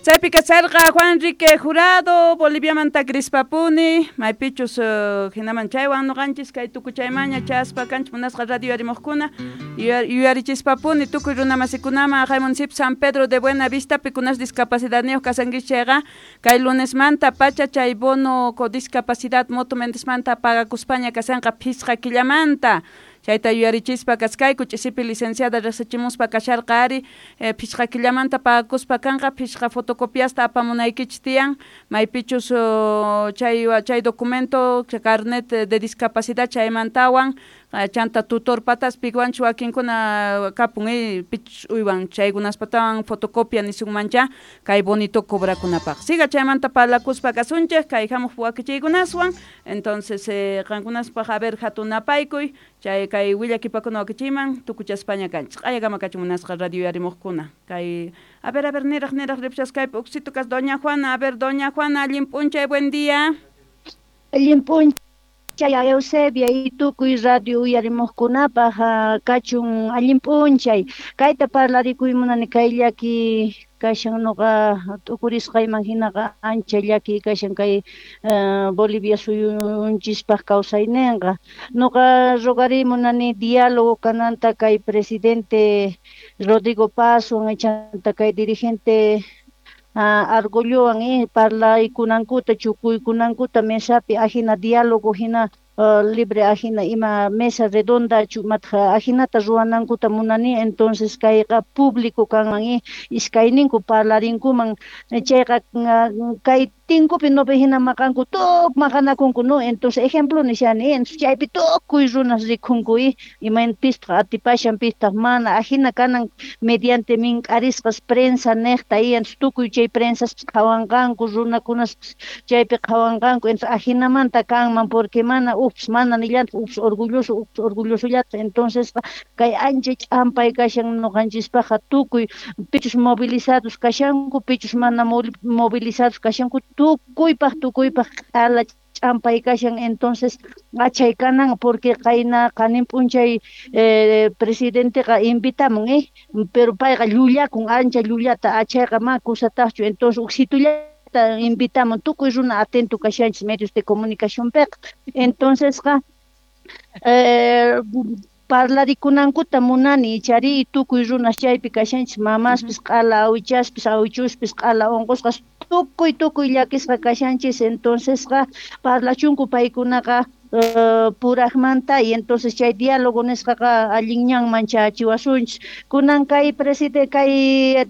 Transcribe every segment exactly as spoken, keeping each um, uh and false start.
Chaypi kasharqa Juan Enrique Jurado, Boliviamanta Crispapuni, maypichus uh, hinaman chaywan noqanchis kay tukuchaymaña chaspa kanchis munasqa radio yarimuqkuna, yuyarichispapuni tukuy runamasikunaman haqay municipio San Pedro de Buena Vista pikunas discapacidadniyuq kasankichis chayqa kay lunesmanta pacha chay bono con discapacidad moto Mendesmanta pagakuspaña kasanqa phisqa killamanta. Chayta yuyarichispa kaskayku ch'isipi licenciada riqsichimuspa kasharqa ari eh, phisqa killamanta pagakuspa kanqa phisqa fotocopiasta apamunaykichis tiyan maypichus uh, chay chay documento carnet de discapacidad chaymantawan chanta tutor patas piwanchu wakinkuna kapun eh, pichus uywan chaykunaspatawan fotocopia nisunmancha kay bonito cobrakunapaq. Siga chaymanta parlakuspa kasunchik kay hamuq wakichiykunaswan entonces eh, qankunaspaq a ver hatunapaykuy chay kay willakipakuna wakichiyman tukuchaspaña kanchik q'ayakama kachun munasqa radio yarimuqkuna kay a ver a ver niraq niraq ripchasqaypi uksito kas doña Juana a ver doña Juana allin p'unchay buen día. Allin p'unchay Eusebia y tukuy radio uyarimuqkunapaq kachun allin p'unchay kayta parlarikuy munani kay llaki kashan noqa t'ukurisqayman hinaqa ancha llaki kashan kay uh, Bolivia suyunchispaq kawsayninqa noqa rogariy munani diálogo kananta kay presidente Rodrigo Pazwan chanta kay dirigente Uh, Argollowan eh, parlaykunankuta chukuykunankuta mesapi ajina diálogo hina uh, libre ajina ima mesa redonda chumatqa ajinata ruwanankuta munani entonces kayqa público kanman eh, iskayninku parlarinkuman chayqa uh, kay tinkupi nopi hina maqanku tuk maqanakunku no entonces ejemplo nishani entonces chaypi tukuy runas rikhunku eh, imaynapistaq atipashan pistaq mana ajina kanan mediante mink'arisqas prensa niqta y entonces tukuy chay prensas qhawanqanku runakunas chaypi qhawanqanku entonces ajinamanta kanman porque mana ups mana nillantaq ups orgulloso ups orgullosollataq entonces kay ancha ch'ampay kashan noqanchispaqqa tukuy pichus movilizados kashanku pichus mana movilizados kashanku tukuypaq tukuypaq q'ala ch'ampay kashan entonces achay kanan porque qayna qanin p'unchay eh, presidenteqa invitamun eh pero payqa llullakun ancha llullata achayqa ma kusataqchu entonces uksitullata invitamun tukuy runa atento kashanchis medios de comunicación piqa entonces qa eh, parlarikunankuta munani ichari tukuy runas chaypi kashanchis mamaspis q'ala awichaspis awichuspis q'ala unqusqas tukuy tukuy llakisqa kashanchis entonces qa parlachunku paykunaqa uh, puraqmanta y entonces chay diálogo nisqaqa allin ñanman chachiwasunchis kunan kay presidente kay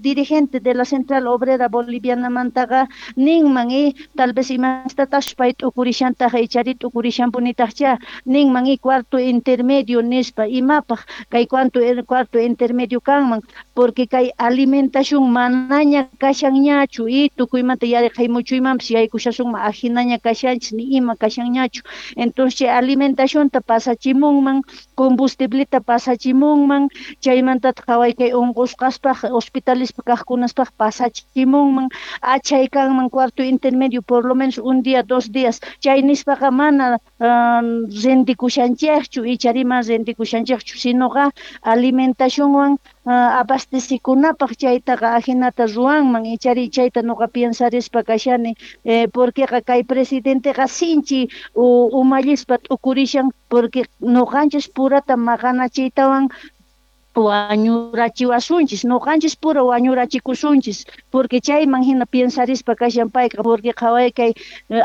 dirigente de la Central Obrera Bolivianamantaqa ninman y tal vez imastataqchus pay t'ukurishantaqa ichari t'ukurishanpunitaqcha ninman y cuarto intermedio nispa imapaq kay cuarto cuarto intermedio kanman porque kay alimentación manaña kashanñachu y tukuymanta yarqhay muchuymanpis yaykushasunman ajinaña kashanchis ni ima kashanñachu entonces chay alimentacionta pasachimunman combustibleta pasachimunman chaymantataq qhaway kay unqusqaspaq hospitalispi kaqkunaspaq pasachimunman achay kanman cuarto intermedio por lo menos un día dos días chay nispaqa mana um, rendikushanchikchu ichari mana rendikushanchikchu sinoqa alimentacionwan uh, abastecikunapaq chaytaqa ajinata ruwanman ichari chayta noqa piensarispa kashani eh, porqueqa kay presidenteqa sinchi umallispa t'ukurishan porque noqanchis purata maqanachiytawan wañurachiwasunchis noqanchis pura wañurachikusunchis porque chayman hina piensarispa kashan payqa porque qhaway kay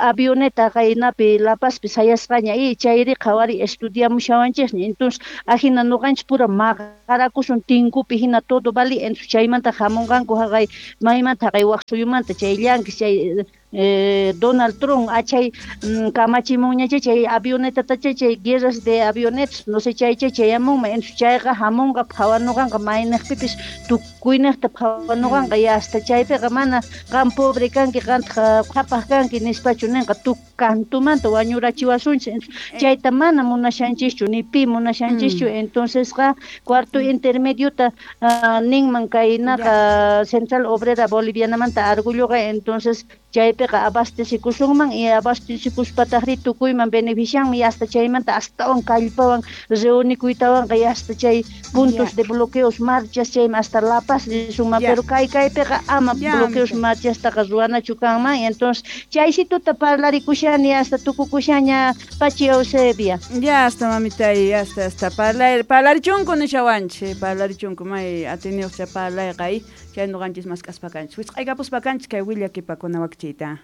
avioneta qaynapi La Pazpi sayasqaña y chayri qhawari estudiamushawanchikña entonces ajina noqanchis pura maqarakusun tinkupi hina todo vali entonces chaymanta hamunqanku haqay maymanta haqay waq suyumanta chay llankis chay Eh, Donald Trump achay mm, kamachimunñacha chay avionetatacha chay guerras de avionetas no sé chay chay chayamunman entonces chayqa hamunqa phawanuqanqa mayniqpipis tukuyniqta phawanuqanqa y hasta chaypiqa mana qam pobre kanki qantaq qhapaq kanki nispachu ninqa tukantumanta wañurachiwasunchis chayta mana munashanchischu ni pi munashanchischu mm. entonces qa cuarto intermediota uh, ninman kaynaqa Central Obrera Bolivianamanta Argulloqa entonces chaypiqa abastecikusunman y abastecikuspataqri tukuyman beneficianman y hasta chaymanta astawan kallpawan reunikuytawanqa y hasta chay puntos de bloqueos marchas chayman hasta La Capaz risunman, pero kay kaypiqa ama bloqueos marchastaqa ruwanachu kanman. Entonces chaysituta parlarikushani hasta tukukushaña pachi Eusebia. Ya hasta mamitay, hasta hasta parlar parlarichunku nishawanchik, parlarichunku may atiniyuqcha parlayqa y chay nuqanchis mask'aspa kanchis. Wisq'aykapuspa kanchis kay willakipakuna wakchiyta.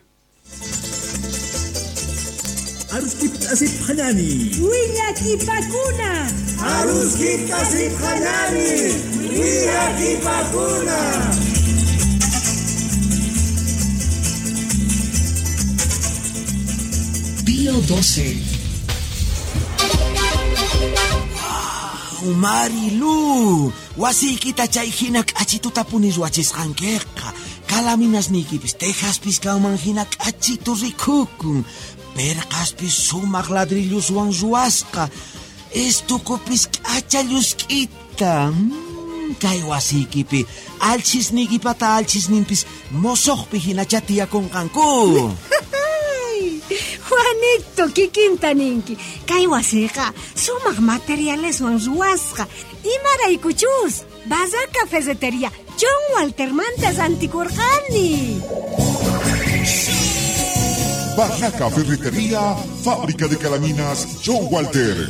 Aruskiptasiphanani. Willakipakuna. Aruskiptasiphanani. Willakipakuna. Pío doce. Wow, Marilu, wasiykita chay hina k'achituta punis wachisqankiqa. Kalaminasniykipis tejaspis kanman hina k'achitu rikukun. Perqaspis sumaq ladrilluswan ruwasqa. Estukupis k'acha llusk'ita. Mm, kay wasiykipi alchisniykipata alchisninpis mosoqpi hinacha tiyakunqanku. Juanito, kikinta ninki. Kay wasiqa sumaq materialeswan ruwasqa. Imaraykuchus Barraca Ferretería John Waltermanta rantikurqani. Barraca Ferretería, fábrica de calaminas John Walter.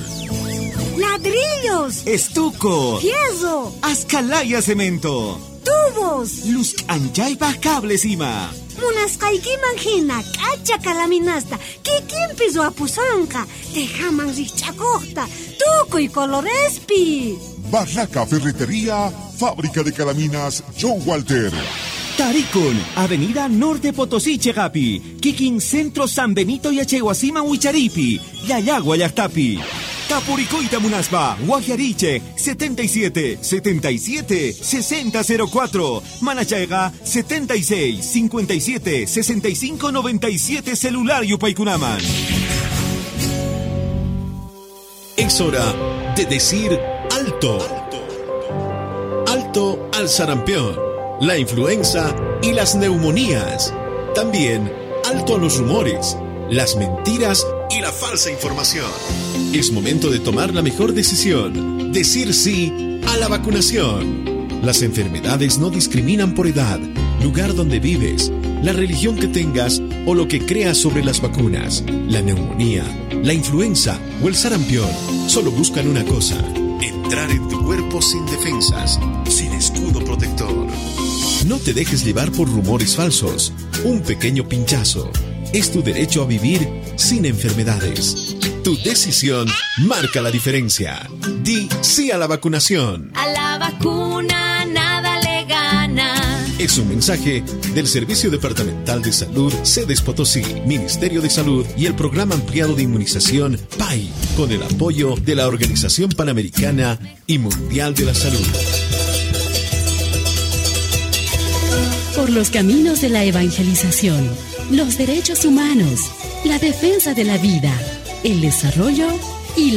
Ladrillos, estuco, fierro, ascalaya cemento, tubos, luz anchaypaj cables ima. Munasqaykiman hina k'acha kalaminasta kikinpi ruwapusonqa, tejaman rikch'akuqta, tukuy colorespi. Barraca Ferretería, fábrica de calaminas John Walter. Tarikun, Avenida Norte Potosí, Chegapi, Kikin Centro San Benito y Achehuasima Huicharipi, Yayagua Llaqtapi. Tapuricoita Munaspa, Guajariche, setenta y siete, setenta y siete, sesenta cero cuatro, Manachaiga, setenta y seis, cincuenta y siete, sesenta y cinco, noventa y siete, celular Yupaykunaman. Es hora de decir alto. Alto al sarampión, la influenza y las neumonías. También alto a los rumores, las mentiras y la falsa información. Es momento de tomar la mejor decisión, decir sí a la vacunación. Las enfermedades no discriminan por edad, lugar donde vives, la religión que tengas o lo que creas sobre las vacunas. La neumonía, la influenza o el sarampión solo buscan una cosa: entrar en tu cuerpo sin defensas, sin escudo protector. No te dejes llevar por rumores falsos. Un pequeño pinchazo es tu derecho a vivir sin enfermedades. Tu decisión marca la diferencia. Di sí a la vacunación. A la vacuna nada le gana. Es un mensaje del Servicio Departamental de Salud, Sedes Potosí, Ministerio de Salud y el Programa Ampliado de Inmunización P A I, con el apoyo de la Organización Panamericana y Mundial de la Salud. Por los caminos de la evangelización, los derechos humanos, la defensa de la vida, el desarrollo y la